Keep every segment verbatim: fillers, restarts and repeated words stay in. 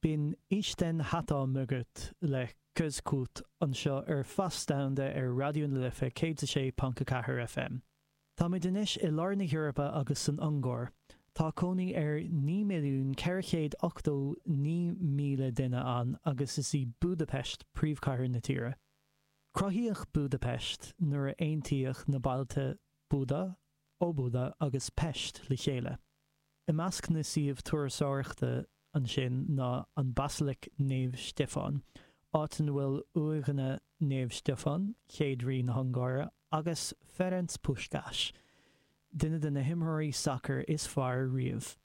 B'in Isten háta mögött le Közkút anseo ar Fás Domhanda ar Raidió na Life céad a sé ponc a ceathair FM. Táimid anois i lár na hEorpa agus san Ungáir. Tá cónaí ar naoi milliún ceithre chéad ochtó naoi míle duine ann agus is í Budapest príomhchathair na tíre. Cruthaíodh Budapest nuair a aontaíodh na bailte Buda, Óbuda agus Pest le chéile. I measc na suíomh turasóireachta ansin ná an Basilic Naomh Stiofán, áit ina bhfuil uaigheanna Naomh Stiofán, chéad rí na hUngáire, agus Ferenc Puskás, duine de na himreoirí sacair is fearr riamh.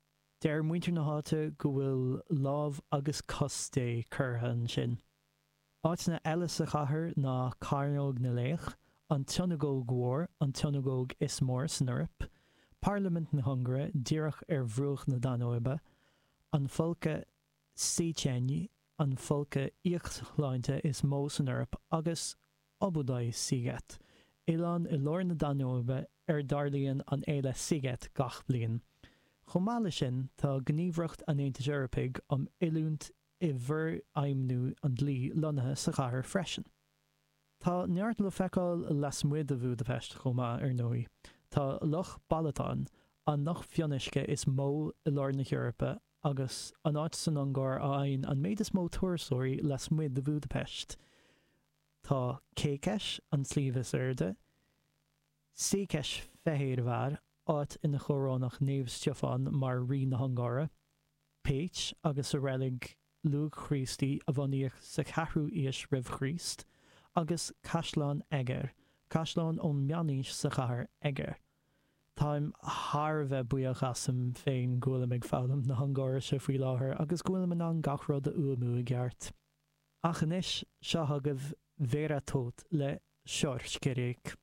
Deir muintir na háite go bhfuil lámh agus cos Dé curtha ansin. Áiteanna eile sa chathair ná Cearnóg na Laoch, an tSionagóg Mhór, an tsionagóg is mó san Eoraip, Parlaimint na hUngáire díreach ar bhruach na Danóibe, an Folcadh Széchenyi, an folcadh íocshláinte is mó san Eoraip, agus Óbudai sziget, oileán i lár na Danóibe ar dtarlaíonn an fhéile Sziget gach bliain. Chomh maith leis sin, tá Gníomhaireacht an Aontais Eorpaigh um Oiliúint i bhForfheidhmiú an Dlí lonnaithe sa chathair freisin. Tá neart le feiceáil lasmuigh de Bhúdaipeist chomh maith, ar ndóigh. Tá Loch Balaton, an loch fionnuisce is mó i lár na hEorpa agus an áit san Ungáir a fhaigheann an méid is mó turasóirí lasmuigh de Bhúdaipeist. Tá Kékes, an sliabh is airde, Székesfehérvár, áit ina chorónaíodh Naomh Stiofán mar rí na hUngáire, Pécs agus a reilig luath-Chríostaí a bunaíodh sa cheathrú haois roimh Chríost, agus Caisleán Eger, caisleán ón meánaois sa chathair Eger. Táim thar a bheith buíoch asam féin go bhfuilim ag foghlaim na hUngáirise faoi láthair agus go bhfuilim in ann gach rud a fhuaimniú i gceart. Ach anois, seo chugaibh Vera Tóth le Sorskerék.